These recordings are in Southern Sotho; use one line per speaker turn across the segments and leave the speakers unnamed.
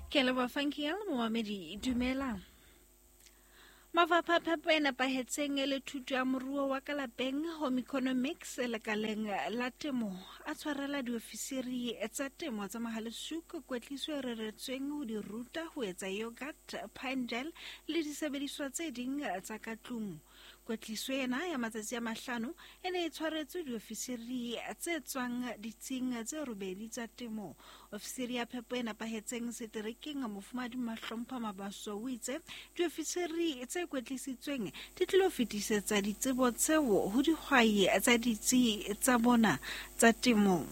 Ke leboha Funky momamedi, dumela. Mafapha a phepo e nepahetseng le thuto ya moruo wa ka lapeng, home economics, lekaleng la temo a tshwarela diofisiri tsa temo tsa Mohale'shoek kwetliso e reretsweng ho di ruta ho etsa yogurt, pine gel le disebediswa tse ding tsa ka tlung. Kwetliso ena ya matsatsi a mahlano e ne e tshwaretswe diofisiri tse tswang ditsing tse robedi tsa temo. Ofisiri ya phepo e nepahetseng seterekeng, Mofumahadi Mahlompha Mabaso, o itse diofisiri tse kwetlisitsweng di tlilo fetisetsa ditsebo tseo ho dihwai tsa ditsi tsa bona tsa temo.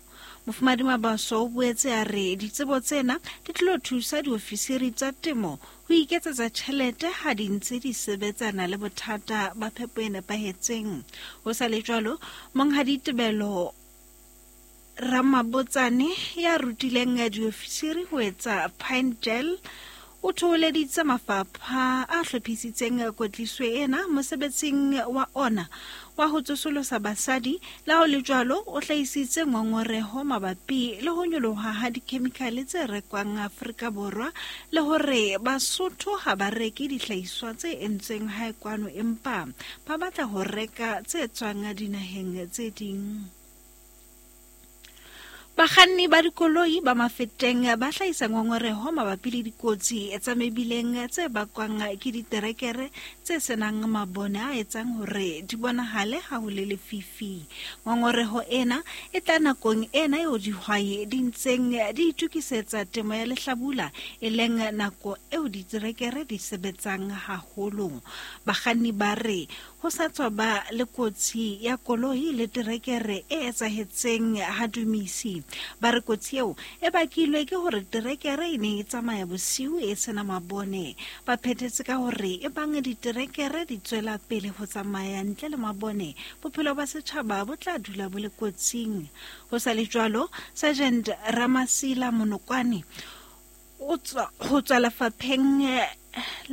Mofumahadi Mabaso o boetse a re ditsebo tsena di tlilo thusa diofisiri tsa temo ho iketsetsa tjhelete ha di ntse di sebetsana le bothata ba phepo e nepahetseng. Ho sa le jwalo, Monghadi Tebelo Ramabotsane ya rutileng diofisiri ho etsa pine gel o thoholeditse mafapha a hlophisitseng kwetliso ena mosebetsing wa ona wa ho tsosolosa basadi. Le ha ho le jwalo, o hlahisitse ngongoreho mabapi le ho nyoloha ha dikhemikhale tse rekwang Afrika Borwa le hore Basotho ha ba reke dihlahiswa tse entsweng hae kwano empa ba batla ho reka tse tswang dinaheng tse ding. Bakganni ba dikoloi ba Mafeteng ba hlahisa ngongoreho mabapi le dikotsi tsa mebileng tse bakwang ke diterekere tse senang mabone a etsang hore di bonahale ha ho le lefifi. Ngongoreho ena e tla nakong ena eo dihwai di ntseng di itokisetsa temo ya lehlabula, e leng nako eo diterekere di sebetsang haholo. Bakganni ba re Ho sa tswa ba le kotsi ya koloi le terekere e etsahetseng ha Dumisi. Ba re kotsi eo e bakilwe ke hore terekere e ne e tsamaya bosiu e sena mabone. Ba phethetse ka hore e bang diterekere di tswela pele ho tsamaya ntle le mabone, bophelo ba setjhaba bo tla dula bo le kotsing. Ho sa le jwalo, Sergeant Ramasila Monokwane o tswa ho tswa lefapheng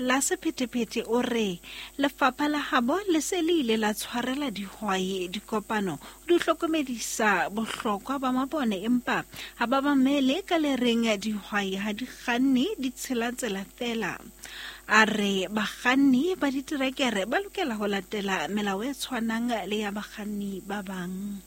la sephethephethe o re lefapha la habo le se le ile la tshwarela dihwai dikopano di hlokomedisa bohlokwa ba mabone, empa ha ba mamele ka le reng dihwai ha di kganne di tshela tsela fela. A re bakganni ba diterekere ba lokela ho latela melao e tshwanang le ya bakganni ba bang.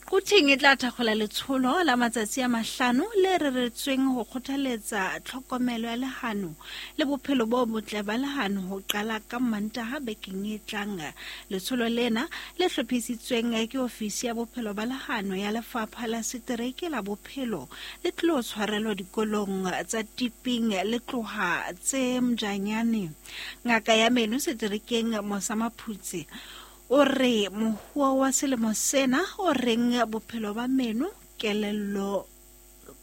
Quthing e tla thakgola letsholo la matsatsi a mahlano le reretsweng ho kgothaletsa tlhokomelo ya lehano le bophelo bo botle ba lehano ho qala ka Mantaha bekeng e tlang. Letsholo lena le hlophisitsweng ke ofisi ya bophelo ba lehano ya lefapha la setereke la bophelo le tlilo tshwarelwa dikolong tsa Tiping le tloha tse Mjanyane. Ngaka ya meno seterekeng Mosa Maphutse O re mohuo wa selemo sena o reng bophelo ba meno, kelello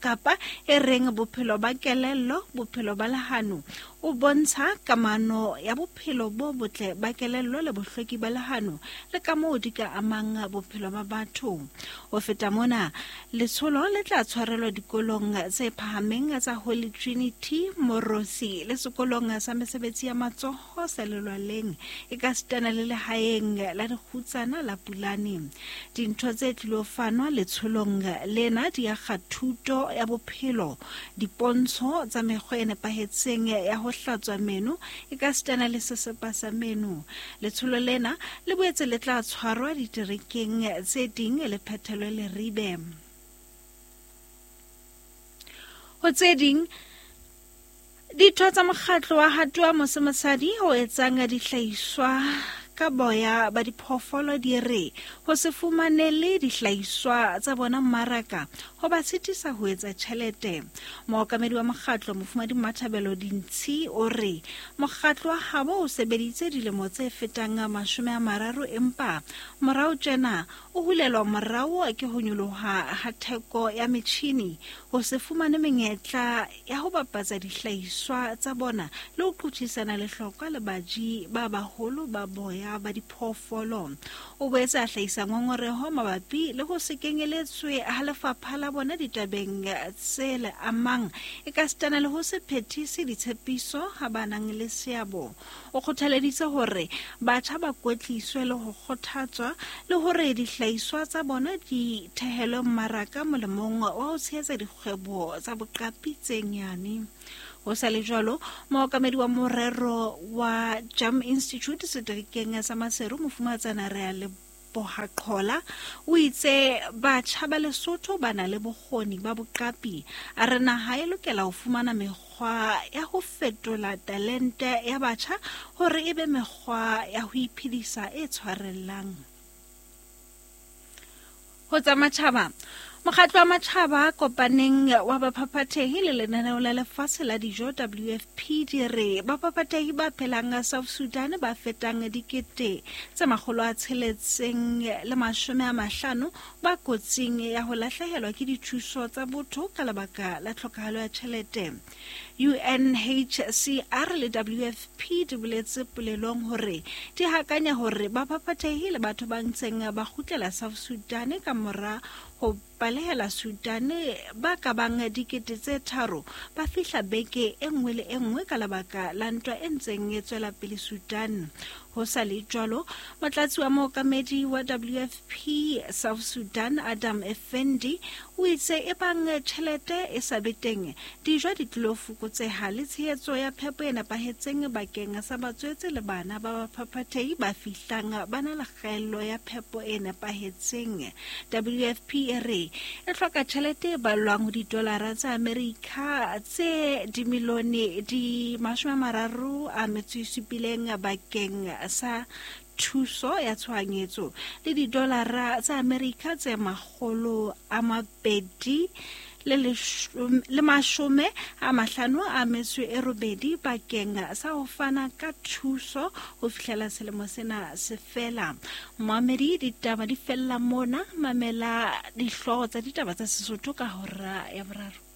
kapa e reng bophelo ba kelello, bophelo ba lehano, o bontsha kamano ya bophelo bo botle ba kelello le bohlweki ba lehano le kamoo di ka amang bophelo ba batho. Ho feta mona, letsholo le tla tshwarelwa dikolong tse phahameng tsa Holy Trinity, Morosi le sekolong sa mesebetsi ya matsoho sa lelwaleng e ka sitana le lehaeng la dikgutsana la Pulane. Dintho tse tlilo fanwa letsholong lena di akga thuto ya bophelo, dipontsho tsa mekgwa e nepahetseng ya ho hlatswa meno e ka sitana le sesepa sa meno. Letsholo lena le boetse le tla tshwarwa diterekeng tse ding le phethelwe Leribe. Ho tse ding, Ditho tsa mokgatlo wa Hatoa Mose Mosadi o etsang dihlahiswa ka boya ba diphoofolo di re ho se fumanele dihlahiswa tsa bona mmaraka ho ba sitisa ho etsa tjhelete. Mookamedi wa mokgatlo Mofumadi Mmathabelo Dintshi o re mokgatlo wa habo o sebeditse dilemo tse fetang 30 empa morao tjena o hulelwa morao ke ho nyoloha ha theko ya metjhini, ho se fumane menyetla ya ho bapatsa dihlahiswa tsa bona le ho qothisana lehlokwa le baji ba baholo ba boya. botjha ba diphoofolo. O boetse a hlahisa ngongoreho mabapi le ho se kenyeletswe ha lefapha la bona ditabeng tse le amang ekasitana le ho se phethise ditshepiso ha ba nang le seabo. O kgothaleditse hore batjha ba kwetliswe le ho kgothatswa le hore dihlahiswa tsa bona di thehelwe mmaraka molemong wa ho tshehetsa dikgwebo tsa boqapi tse nyane. Ho sa le jwalo, mookamedi wa morero wa Jam Institute seterekeng sa Maseru, Mofumahatsana Realeboha Qhola, o itse batjha ba Lesotho ba na le bokgoni ba boqapi. A re naha e lokela ho fumana mekgwa ya ho fetola talente ya batjha hore e be mekgwa ya ho iphedisa e tshwarellang. Ho tsa matjhaba, Mokgatlo wa Matjhaba a Kopaneng wa Baphaphathehi le Lenaneo la Lefatshe la Dijo, WFP, di re baphaphathehi ba phelang South Sudan ba fetang 650 ba kotsing ya ho lahlehelwa ke dithuso tsa botho ka lebaka la tlhokahalo ya tjhelete. UNHCR le WFP di boletse polelong hore di hakanya hore baphaphathehi le batho ba ntseng ba kgutlela South Sudan ka mora ho balehela Sudan ba ka bang 3,000 ba fihla beke e nngwe le e nngwe ka lebaka la ntwa e ntseng e tswela pele Sudan. Ho sa le jwalo, motlatsi wa mookamedi wa WFP South Sudan Adam Effendi o itse ebang tjhelete e sa be teng, dijo di tlilo fokotseha le tshehetso ya phepo e nepahetseng bakeng sa batswetse le bana ba baphaphathehi ba fihlang ba na le kgaello ya phepo e nepahetseng. WFP e re e hloka tjhelete e ballwang ho didolara tsa Amerika tse dimilione di 37 bakeng sa thuso ya tshohanyetso le didolara tsa Amerika tse 258 bakeng sa ho fana ka thuso ho fihlela selemo sena se fela. Moamedi, ditaba di fella mona. Mamela dihlooho tsa ditaba tsa Sesotho ka hora ya boraro.